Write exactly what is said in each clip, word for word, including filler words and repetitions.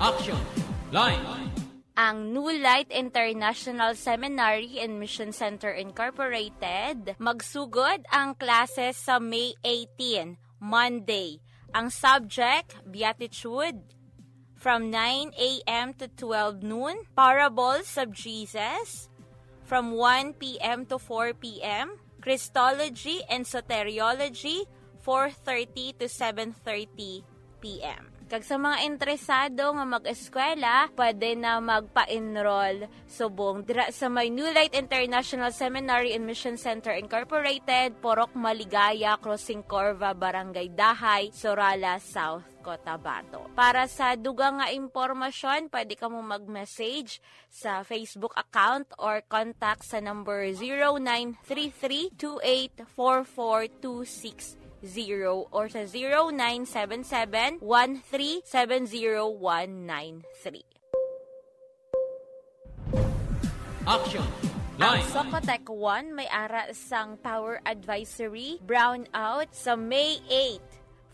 Action! Line! Ang New Light International Seminary and Mission Center Incorporated, magsugod ang klase sa May eighteen, Monday. Ang subject, Beatitude, from nine a m to twelve noon, Parables of Jesus, from one p m to four p m, Christology and Soteriology, four thirty to seven thirty p m. Kag sa mga interesado nga mag-eskwela, pwede na magpa-enroll subong dira sa may New Light International Seminary and Mission Center Incorporated, Purok Maligaya, Crossing Corva, Barangay Dahay, Sorala, South Cotabato. Para sa dugang nga impormasyon, pwede kamo mag-message sa Facebook account or contact sa number zero nine three three two eight four four two six zero or sa zero nine seven seven one three seven zero one nine three. Action! Ang Line! Socotec One may ara sang power advisory brownout sa May eight.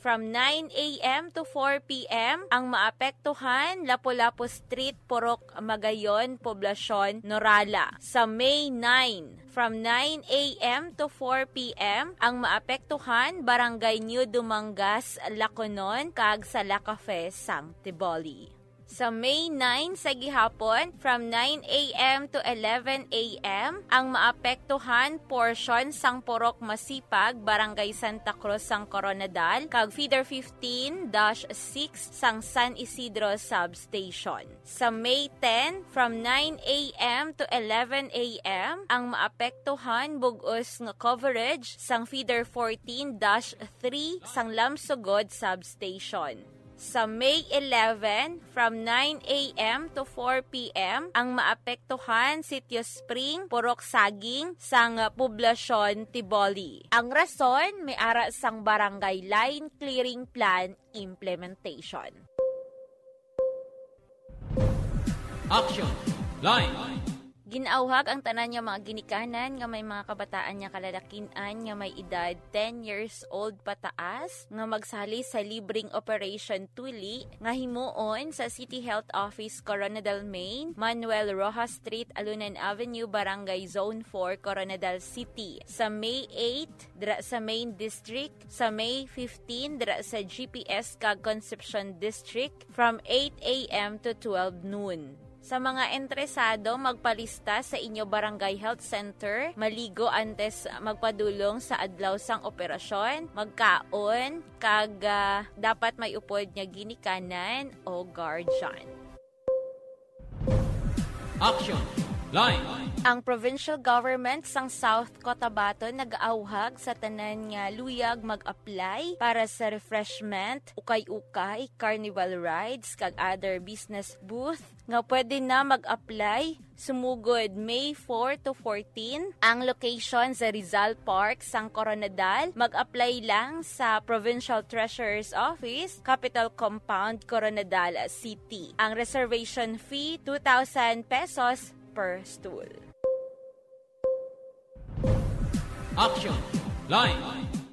From nine a m to four p m, ang maapektuhan, Lapu-Lapu Street, Purok Magayon, Poblacion, Norala. Sa May nine, from nine a m to four p m, ang maapektuhan, Barangay New Dumangas, Laconon, kag sa La Cafe, sang Tiboli. Sa May nine sa gihapon, from nine a m to eleven a m, ang maapektuhan portion sang Purok Masipag, Barangay Santa Cruz sang Koronadal, kag Feeder fifteen dash six sang San Isidro Substation. Sa May ten, from nine a m to eleven a m, ang maapektuhan bug-os nga coverage sang Feeder fourteen dash three sang Lamsugod Substation. Sa May eleven, from nine a m to four p m, ang maapektuhan Sitio Spring, Purok Saging, sang Poblacion, Tiboli. Ang rason, may ara sang Barangay Line Clearing Plan implementation. Action! Line! Ginaawhag ang tanan nga mga ginikanan nga may mga kabataan nga kalalakin-an nga may edad ten years old pataas nga magsali sa libreng Operation Tuli nga himuon sa City Health Office, Koronadal Main, Manuel Roxas Street, Alunan Avenue, Barangay Zone four, Koronadal City, sa May eight, dira sa Main District, sa May fifteen, dira sa G P S kag Concepcion District, from eight a m to twelve noon. Sa mga interesado magpalista sa inyo barangay health center, maligo antes magpadulong sa adlaw sang operasyon, magkaon, kag, ah, dapat may upod nga ginikanan o guardian. Action! Line! Ang provincial government sang South Cotabato nag-awhag sa tanan nga luyag mag-apply para sa refreshment, ukay-ukay, carnival rides, kag other business booth nga pwede na mag-apply sumugod May four to fourteen. Ang location sa Rizal Park sang Koronadal. Mag-apply lang sa Provincial Treasurer's Office, Capitol Compound, Koronadal City. Ang reservation fee, two thousand pesos per stool. Action! Line!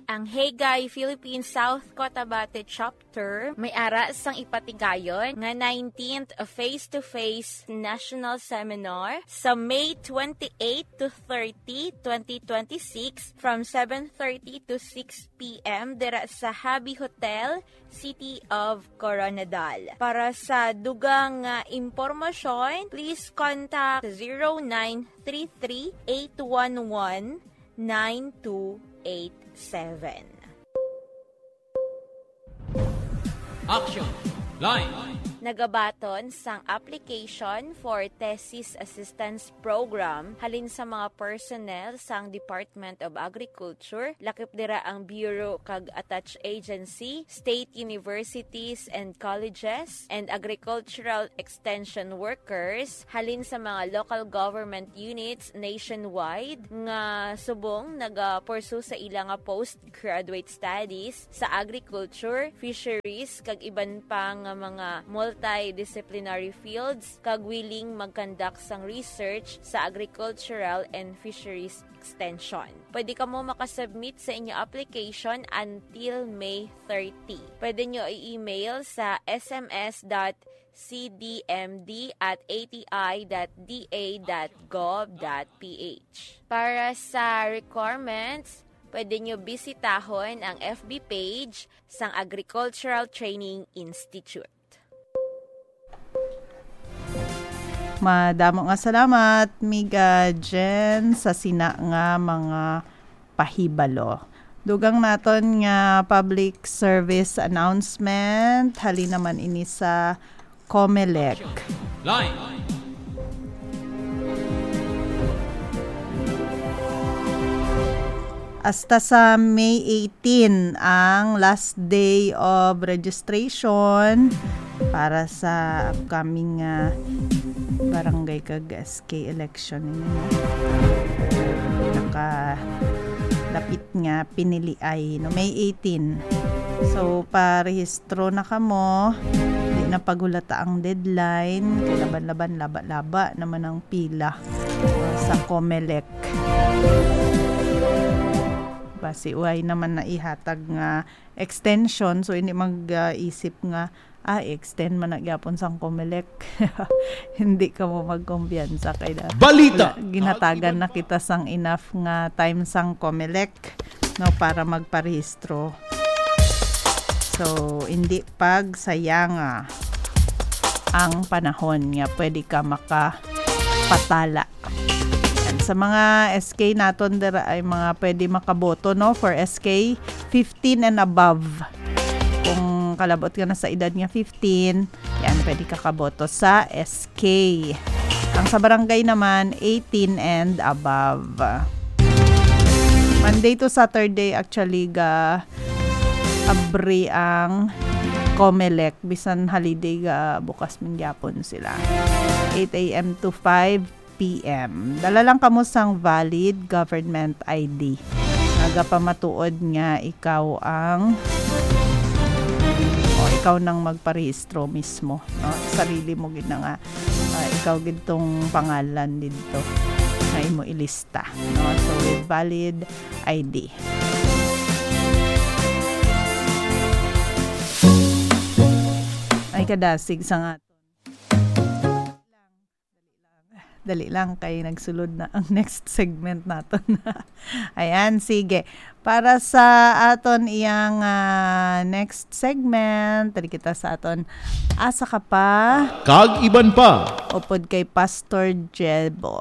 Ang Hagay Philippine South Cotabato Chapter may ara sang ipatigayon nga nineteenth Face-to-Face National Seminar sa May twenty-eight to thirty, twenty twenty-six, from seven thirty to six p m dira sa Habi Hotel, City of Koronadal. Para sa dugang nga impormasyon, please contact zero nine three three eight one one nine two eight seven. Action! Line! Nagabaton sang application for Thesis Assistance Program halin sa mga personnel sang Department of Agriculture, lakip dira ang Bureau kag attached agency, state universities and colleges, and agricultural extension workers halin sa mga local government units nationwide nga subong nagapursu sa ila nga postgraduate studies sa agriculture, fisheries, kag iban pa nga mga multidisciplinary fields, kag willing mag-conduct sang research sa agricultural and fisheries extension. Pwede kamo makasubmit sa inyo application until May thirty. Pwede nyo i-email sa S M S dot C D M D at A T I dot D A dot gov dot P H. Para sa requirements, pwede nyo bisitahon ang F B page sang Agricultural Training Institute. Madamo nga salamat, Miga Jen, sa sina nga mga pahibalo. Dugang naton nga public service announcement, halin naman ini sa Comelec. Line. Hasta sa May eighteen ang last day of registration para sa upcoming, ah, barangay kag S K election ninyo. Nakalapit nga piniliay, no, May eighteen. So, parehistro na kamo. Di na pagulata ang deadline. Kay laban-laban, laba-laba naman ang pila sa Comelec. Basi, uy, naman na ihatag nga extension. So, hindi mag-isip nga, ah, extend man na gyapon sang Comelec. Hindi kamo magkumpiyansa kay na Balita! Wala, ginhatagan na kita sang enough nga time sang Comelec, no, para magparehistro. So, hindi pagsayanga ang panahon nga pwede ka makapatala. Yan. Sa mga S K naton, dira ay mga pwede makaboto, no, for S K fifteen and above. Kung kalabot ka na sa edad nga fifteen, yan, pwede ka kaboto sa S K. Ang sa barangay naman, eighteen and above. Monday to Saturday, actually, ga abri ang Comelec. Bisan holiday, ga bukas man gyapon sila. Eight a m to five p m. Dala lang kamo sang valid government I D. Nagapamatuod nga ikaw ang, o ikaw nang magparehistro mismo, no? Sarili mo gid na nga, ah, ikaw gid tong pangalan didto nga imo ilista, no? So, with valid I D. Ay, kadasig sa nga. Dali lang, kay nagsulod na ang next segment naton. Ayan, sige. Para sa aton iyang, ah, next segment, dali kita sa aton Asa Ka Pa? Kag iban pa. Upod kay Pastor Jebo.